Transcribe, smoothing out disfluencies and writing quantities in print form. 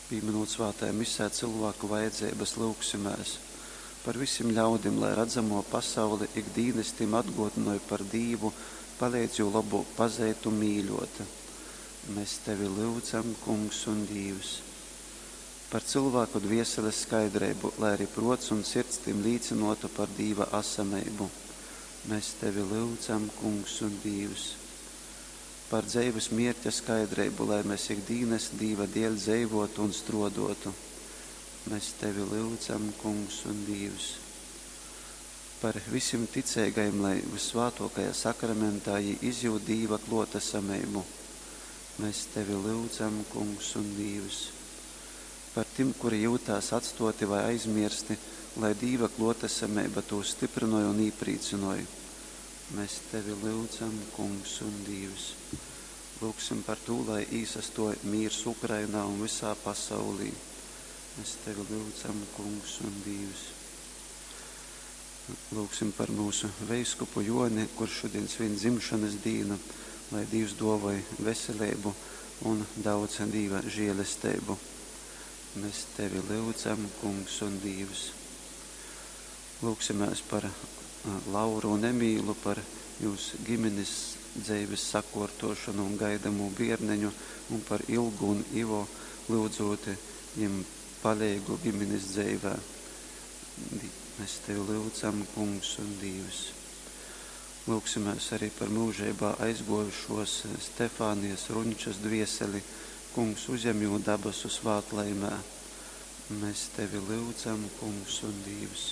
Pīminūt svātajā misē cylvāku vajadzeibas, lyugsimēs par visim ļaudim, lai radzamō pasaule ik dīnys tim atgōdynoj par Dīvu, paleidz jū lobōk pazeit un mīļōt. Mes tevi lyudzam, Kungs un Dīvs. Par cylvāku dvieseles skaidreibu, lai ari pruots un sirds tim līcynuotu par Dīva asameibu. Mes tevi lyudzam, Kungs un Dīvs. Par dzeives mierķa skaidreibu, lai mes ik dīnys Dīva dieļ dzeivuotu un struoduotu. Mes tevi lyudzam, Kungs un Dīvs. Par visim ticeigajim, lai vyssvātuokajā sakramentā jī izjūt Dīva kluotasameibu. Mes tevi lyudzam, Kungs un Dīvs. Par tim, kuri jiutās atstuoti vai aizmiersti, lai Dīva kluotasameiba tūs styprynoj un īprīcynoj. Mes tevi lyudzam, Kungs un Dīvs. Lyugsim par tū, lai īsastuoj mīrs Ukrainā un vysā pasaulī. Mes tevi lyudzam, Kungs un Dīvs. Lyugsim par myusu veiskupu Juoni, kurš šodien svin dzimšanas dīnu, lai Dīvs duovoj veseleibu un daudz Dīva žielesteibu. Mēs tevi lyudzam, Kungs un Dīvs. Lūgsimēs par Lauru un Emīlu, par jūs ģimenes dzeives sakuortošonu un gaidamū bierneņu, un par Ilgu un Ivo, lyudzūt jim paleigu ģimenes dzeivē. Mēs tevi lyudzam, Kungs un Dīvs. Lūgsimēs arī par mūžībā aizguojušos Stefānijas Runčas dvieseli. Kungs, uzņem jū dabasu svātlaimē. Mēs tevi lyudzam, Kungs un Dīvs.